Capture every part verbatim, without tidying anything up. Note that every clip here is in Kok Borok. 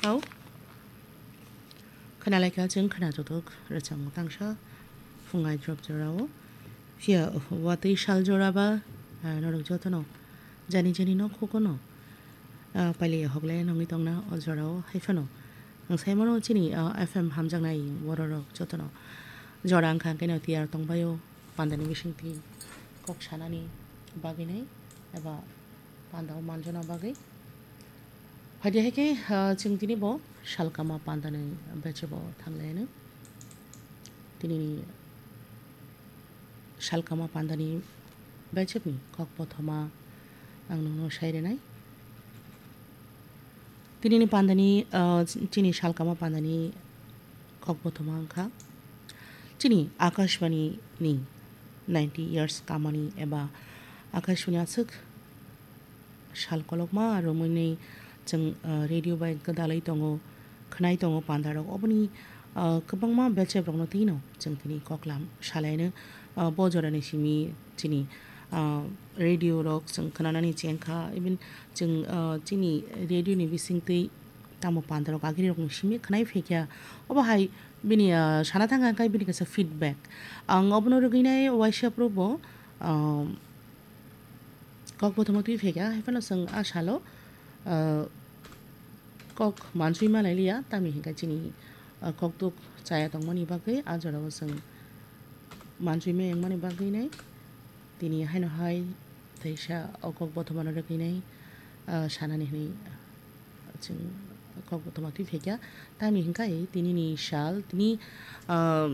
Hau. Khwnalaikha chwng khwnajotok rwchapmung tangsa phungai drop jorao. Phiya watwi sal jora ba, ah, norok jotono jani jani no khukono, ah, pailiya hoklai nongwi tongna o jorao. Haiphano ang saimano chini, ah, F M hamjaknai bororok jotono jora wngkha hwnkhe no tiyar tongbaio pandani bisingtwi kok sanani bagwi nai eba pandao manjona bagwi. Phaidi hai khe, ah, chwng tini bo salkama pandani bechebo thanglaino. Tinini salkama pandani bechebni kok bothoma ang nokno sai rwnai. Tinini pandani, ah, chini salkama pandani kok bothoma wngkha. Chini Akashbani ni ninety years kamani eba Akashbani aswk sal kolokma romwi chwng, ah, radio bai gwdalwi tongo, khwnai tongo pandarok. Oboni, ah, kwbangma bechebrokno twino chwng tini koklam salaino, ah, bo jorani simi chini, ah, radio rok chwng khwnanani chengkha, even chwng, ah, chini radio ni bisingtwi tamo pandarok agirokni simi khwnai phaikha. Obo hai bini, ah, sana thangkha khe bini kaisa feedback. Ang obono rwgwinai waisa phuru bo, ah, kok bothoma twi phaikha, haiphano chwng a salo, ah, kok mansui manai liya, tamni hinkhe chini, ah, kokduk chaya tongmani bagwi a jorao chwng mansui meng mani bagwi nai tini haino hai teisa o kok bothomano rwgwi nai, ah, sanani hinwi chwng kok bothoma twi phaikha. Tamni hinkhe tinini sal, tini, ah,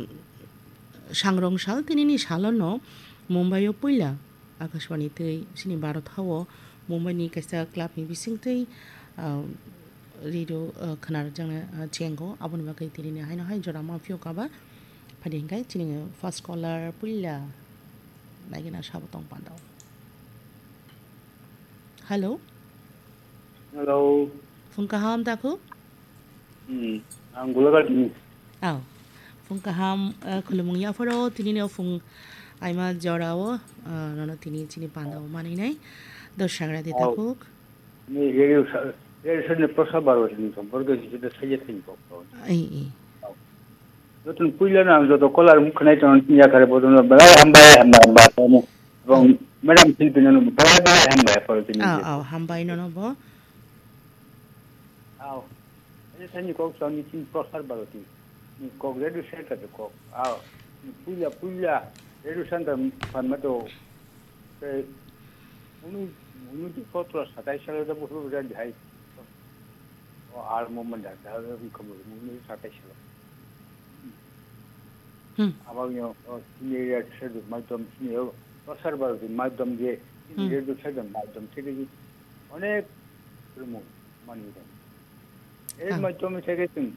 sangrong sal, tinini salono Mumbai o puila Akashbani twi chini Bharat hao Mumbai ni kaisa club ni bisingtwi, ah, radio, ah, khwnarwkjakna, ah, chengo. Aboni bagwi tinini haino hai jora ma phiyok aba. Phaidi hinkhe chini first caller puila naigina sabo tong pandao. Hello. Hello. Phung kaham takhuk? Hmm, ang Gulaghati ni. Aw. Phung kaham, eh, khulumung yapharo, tini no phung aima jorao, eh, nono tini chini pandao maninai. Dos sagra di Aw. Takhuk. Ni radio sa-, radio sa ni Prasad Bharati ni somporke ni jeta saja thani kok. Ai, ai. Aw. Jotun puila na ang joto caller mung khnai ton yakhare bodono belai hambai, hambai, hambai. Aw. Bong, madam Philippine no belai, belai hambai, paro tini Aw, je. Aw, hambai nono bo. Aw. Ani sani kok sani tin Prasad Bharati. Ni kok radio center de kok. Aw. Ni puila, puila radio center pan mato. Te unu, unu di kotro satai salo da buru bura di hai. O al mo manda da unu satai salo. Hmm. Abang yo, o, sini radio center maidom sini yo. Prasad Bharati maidom je, sini Hmm. radio center maidom sini. Onek rumo mani dong. Ei Ah. maidom sini